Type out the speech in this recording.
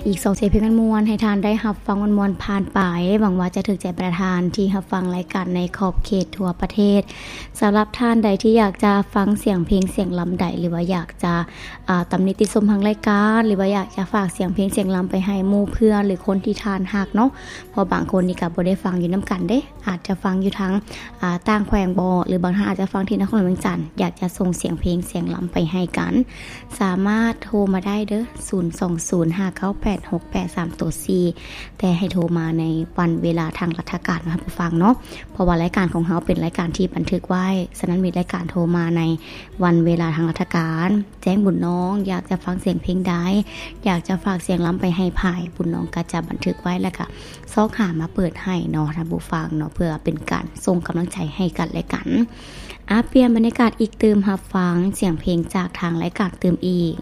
ອີກສອງເສຍງເພງມ່ວນໆ ໃຫ້ທ່ານໄດ້ຮັບຟັງມ່ວນໆຜ່ານໄປ. ຫວັງວ່າຈະຖືກໃຈບັນດາທ່ານທີ່ຮັບຟັງລາຍການໃນຂອບເຂດທົ່ວປະເທດ. ສຳລັບທ່ານໃດທີ່ຢາກຈະຟັງສຽງເພງສຽງລຳໃດ ຫຼືວ່າຢາກຈະ ອ່າ ຕຳໜິຕິຊົມທາງລາຍການ ຫຼືວ່າຢາກຈະຝາກສຽງເພງສຽງລຳໄປໃຫ້ໝູ່ເພື່ອນ ຫຼື ຄົນທີ່ທ່ານຮັກເນາະ, ເພາະບາງຄົນນີ້ກໍບໍ່ໄດ້ຟັງຢູ່ນຳກັນເດ້. ອາດຈະຟັງຢູ່ທາງ ອ່າ ຕ່າງແຂວງບໍ ຫຼືບາງທ່ານອາດຈະຟັງທີ່ນະຄອນຫຼວງວຽງຈັນ ຢາກຈະສົ່ງສຽງເພງສຽງລຳໄປໃຫ້ກັນ ສາມາດໂທມາໄດ້ເດີ້ ສູນສອງສູນ ຫ້າເກົ້າແປດ ຫົກແປດສາມສີ່ ແຕ່ໃຫ້ໂທມາໃນວັນເວລາທາງລັດຖະການນະທ່ານຜູ້ຟັງເນາະ, ເພາະວ່າລາຍການຂອງເຮົາເປັນລາຍການທີ່ບັນທຶກໄວ້. ສະນັ້ນມີລາຍການໂທມາໃນວັນເວລາທາງລັດຖະການ ແຈ້ງບຸນນ້ອງ ຢາກຈະຟັງສຽງເພງໃດ ຢາກຈະຝາກສຽງລຳໄປໃຫ້ໃຜ ບຸນນ້ອງກໍຈະບັນທຶກໄວ້ ແລ້ວກໍຊອກຫາມາເປີດໃຫ້ເນາະທ່ານຜູ້ຟັງເນາະ, ເພື່ອເປັນການສົ່ງກຳລັງໃຈໃຫ້ກັນແລະກັນ. ອາ ປ່ຽນບັນຍາກາດອີກຕື່ມ, ຮັບຟັງສຽງເພງຈາກທາງລາຍການຕື່ມອີກ.